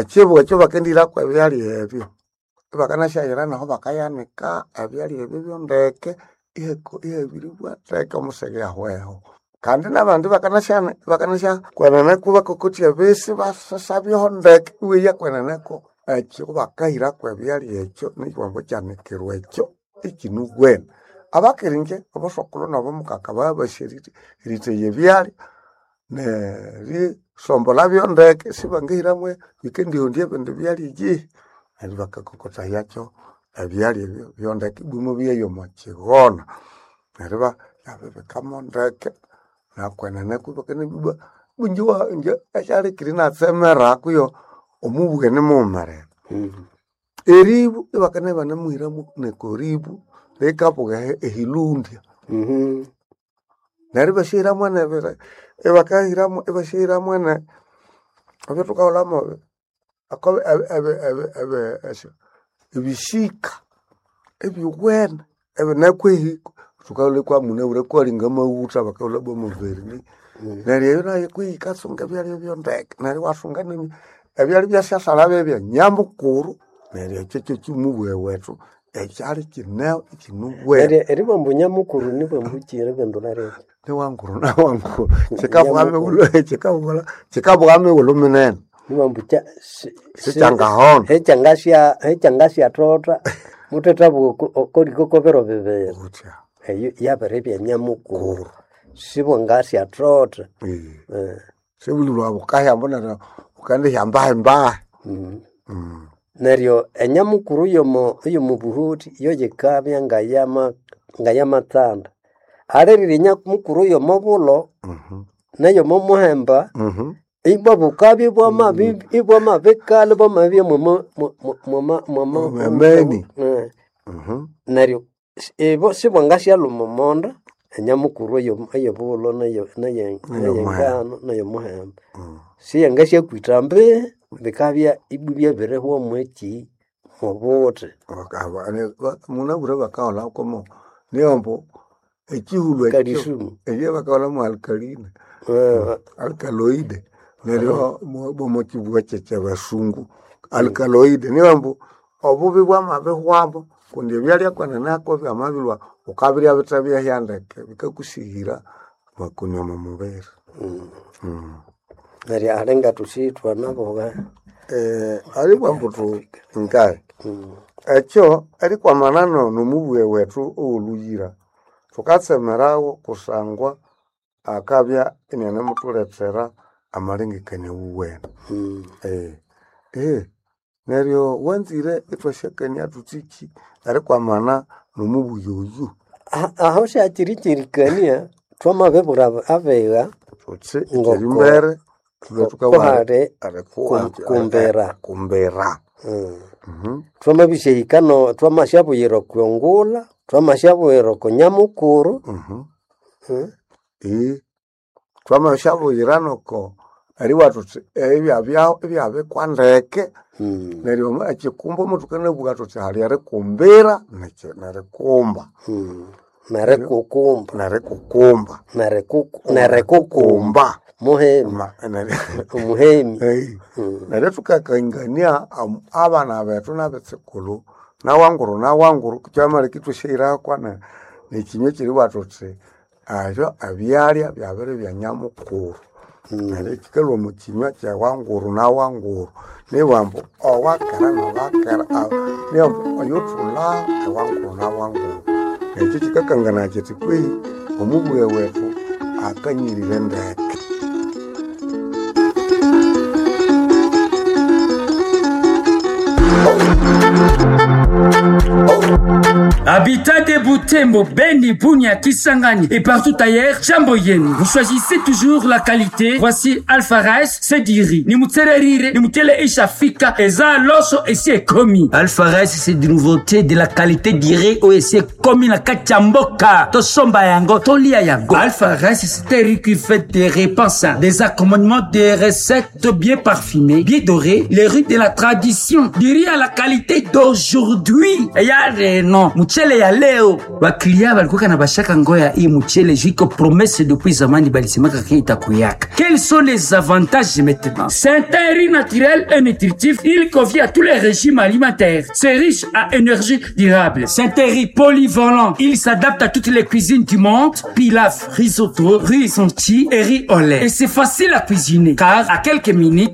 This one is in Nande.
Ekibuga ekyo bakendihirako ebyalya ebyo, ibakanasyayira naho bakayanika ebyalya ebyo byondeke ihabiribwa ndeke omusege ahweho. Kandi nabandi bakanasya kwenene kubakokotya ebisi basasabyeho ndeke iweya kweneneko ekyo bakahirako ebyalya ekyo nikiwango kyanikirwa ekyo ikinuwene. Abakiringye obosokulhu nabomukaka babasi eritheya ebyalya nerisombolhabyo ndeke sibangahiramu bikendihondya ebindi byalya eyihi. Neryo bakakokotayakyo ebyalya ebyo byondeke ibwamabya omo kigona. Neryo ibabibikamo ndeke nakwenene ibakanabibwa ingye ekyalikiri inatsemera kuyo omubughene nimughumerere. Eribu ibakana ibanamuhiramu nekoribu rikabuga ehilundya. Neryo ibasyahiramu nebiri ibakahiramu ibasyahiramu ne ebyathukaghulhamu ebisika ebyowene ebinekwehi thukaghulha kwamunabwire kwali ngamaghutha bakaghulha bwa muverini. Neryo eyo nayo kwihi yikatsunga ebyalya byondeke neryo iwasunga ebyalya ibyasyasala byebya nyamukuru neryo ekyo kyekyimubughe wethu ekyali kineho ikinuwene. Neryo eribugha ambu nyamukuru nibwambuki eribindulha riti? Niwanguru nawanguru kikabugha mighulhu kikabugha mighulhu minene. Nibwambu Sikyangahona. Hekyangasyathotha muthethabugha okoliko kobiro bibiri. Wuthya. Eyo yabiribya nyamukuru sibwangasyathotha. Sibulilwa bukahya neryo wukendihya mbahi mbahi. Neryo enyamukuru yomo buhuthi yo yikabya ngayamatsanda. Alirire enyamukuru yomo bulho neyomo muhemba ibwa bukabya ibwamabikalha ibwamabya Mwameni. Neryo ibo sibwangasyalhuma omonda enyamukuru eyobulho neyengano neyomuhemba. Siyangasyakwitha ambi bikabya ibwa ibyabirihwa mweki mwobuthi. Munabwire bakagholha komo niyo ekihulhu ekyo Kalisumu. ebya bakagholha alkaline alkaloide neryo omwa kibugha kyekyabasungu alkaloide niyo ambu obubi bwamabihwamu kundi ebyalya kwenene byamabilhwa wukabirya bithe byahya ndeke bikakusighira amakoni omo mubiri. Neryo ali ngathusi ithwanabugha. Alibugha ambu ngaye ekyo erikwamana nomubughe wethu owolhuyira thukatsemerawo kusangwa akabya inianemuthulethera amalengekania awuwene. Neryo wanzire ithwasyakania thuthiki erikwamana nomubughe oyu. Aho syakiri kyerikania thwamabibwira abigha Thuthi ngoko ekyerimbere thulhwe thukabugha kuhali kumbira. Kumbira. Thwamabisyahika thwamasyabuyira okwongulha, thwamasyabuyira oko nyamukuru. Thwamasyabuyira noko eribugha thuthi ebyabyaho ibyabikwa ndeke neryo ekikumba muthukanabugha thuthi hali erikumbira nerikumba. Nerikukumba. Nerikukumba. Nerikukumba. Muhemi. Omuhemi. Neryo thukakangania abana bethu nabetsukulhu nawanguru nawanguru kyamaleka ithwasyahirako nekinywa ekyeribugha thuthi ebyo ebyalya byabiribya nyamukuru. Neryo kyikalhwa omo kinywa kyawanguru nawanguru nibugha ambu owakera nowakera nibugha ambu oyothulha ewanguru nawanguru. Ekyo kyikakanganaya kyithi kwehi omubughe wethu akanyirire ndeke. Habitat de Butembo, Beni, Bunia, Kisangani et partout ailleurs, Jambo yenu. Vous choisissez toujours la qualité. Voici Alpha Rice, c'est du riz. Ni mutsererire, ni mutele ishafika, eza loso esi ekomi. Alpha Rice, c'est de nouveauté de la qualité du riz ou esi ekomi na kati ya mboka. Tosomba yango, tolia yango. Alpha Rice, c'est un riz qui fait des réponses, des accommodements, des recettes bien parfumées, bien dorées, les riz de la tradition, du riz à la qualité d'aujourd'hui. Et ya non, mutele ya leo. Leo baklia balikuwa na bashaka ngoya hii mchele jiko promesse depuis zamani balisemaka ke itakuyaka. Quels sont les avantages maintenant? C'est un riz naturel et nutritif. Il convient à tous les régimes alimentaires. C'est riche à énergie durable. C'est un riz polyvalent. Il s'adapte à toutes les cuisines du monde. Pilaf, risotto, riz senti et riz au lait. Et c'est facile à cuisiner car à quelques minutes